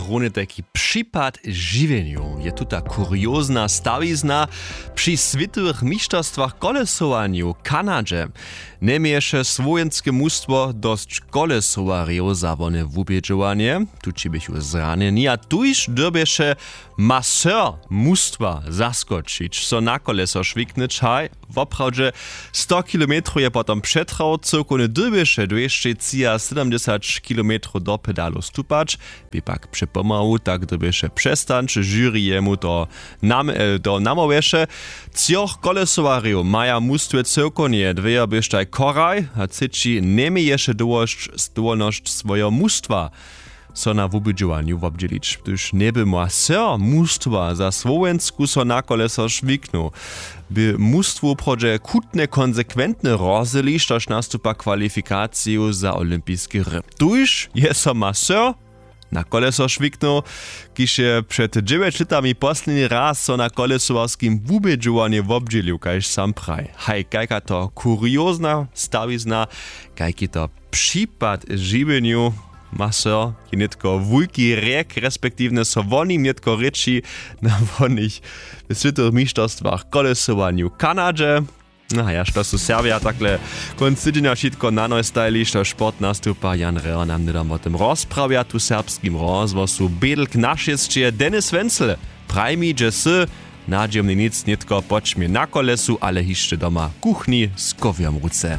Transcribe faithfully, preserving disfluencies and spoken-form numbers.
Runje tajki připad žiwjenju je tuta kuriozna stawizna při swětowych mišterstwach kolesowanju w kanadźe. Njeměješe słowjenske mustwo dosć kolesowarjow za wone wubědźowanje, tući běchu zranjeni a tuž dyrbješe masyr mustwa zaskočić so na koleso šwiknyć haj. Woprawdźe sto kilometrow je potom přetrał cyłkownje dyrbješe dwěsćećiasydomdźesać kilometrow do pedalow stupać. Bě pak přepomału tak dyrbješe přestać žyri jemu to nam to namołwješe. Třoch kolesowarjow maja mustwje cyłkownje dwejo běštaj choraj a třeći njeměješe dołosć dowolnosć swojeho mustwa so na wubědźowanju wobdźělić hdyž njeby masyr mustwa za słowensku so na koleso šwiknył, by mustwu woprawdźe chutnje konsekwentnje rozhyli štož nastupa kwalifikaciju za olympiske hry. Tuž je so masyr na koleso šwiknył, kiž je před dźewjeć lětami posledni raz so na kolesowarskim wubědźowanju wobdźělił kaž sam praji. Haj kajka to kuriozna stawizna, kajki to připad žiwjenju. Masyr je nětko wulki rjek respektiwnje so wonim nětko rěči na wonych w swětowych mišterstwach kolesowanju w kanadźe. A ja što su serbja takle kónc tydźenja wšitko nanoj stajili što sport nastupa jan reho nam hnydom wo tym rozprawja tu w serbskim rozhłosu bědl k našěsće denis wenzel. Praj mi dźe sy nadźijomni nic nětko poćmje na kolesu ale hišće doma w kuchni z kowjom w ruce.